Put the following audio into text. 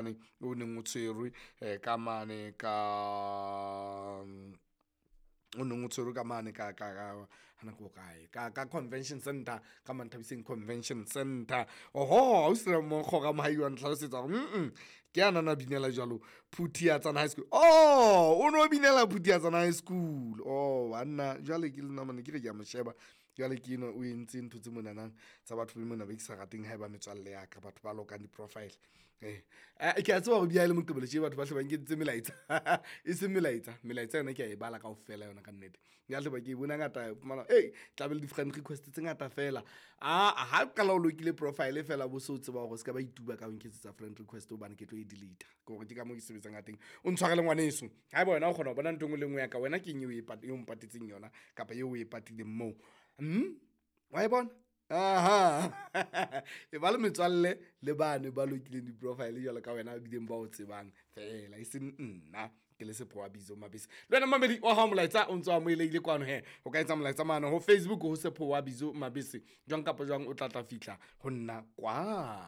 O neng o tshwerwe ka mane ka o neng o tshwerwe ka mane ka ka hana ke kae ka convention center, ka Manthabiseng Convention Center. Oho, ausi Ramonkgo Ramohai wa ntlhalosetsa hore ke yana na binela jwalo Phuthiatsana High School. Oh, o no binela Phuthiatsana High School. Oh banna, jwale ke nna mane ke re ke a mo sheba jwale ke enwa o entse ntho tse monana tsa batho be mona be ke sa rateng haeba metswalle ya ka, batho ba lokang di-profile. Eh, ke a tseba hore bia le Moqebelo tje batho ba hle ba nkentse melaetsa e seng melaetsa, melaetsa yona ke a e bala kaofela yona ka nnete. Ya hle ba ke bona ngata fumana e tla be le di-friend request tse ngata fela. Aa ha qala o lokile profile fela bo so tseba hore o ska ba ituba ka ho nketsetsa friend request hobane ke tlo e delete. Ke hore ke ka moo ke sebetsang ka teng. O ntshwarele ngwaneso, haeba wena o kgona ho bona ntho e nngwe le e nngwe ya ka, wena ke eng eo o mpatetseng yona kapa eo o e patileng moo? Wa e bona? Aha e ba le metswalle le bane ba lokileng di-profile jwalo ka wena bileng ba o tsebang feela, e seng nna ke le Sepho wa Bizo Mabese. Le wena mamedi wa hao molaetsa o ntso amohelehile kwano he, o ka etsa molaetsa mane ho Facebook ho Sepho wa Bizo Mabese, jwang kapa jwang o tla tla fihla ho nna kwa.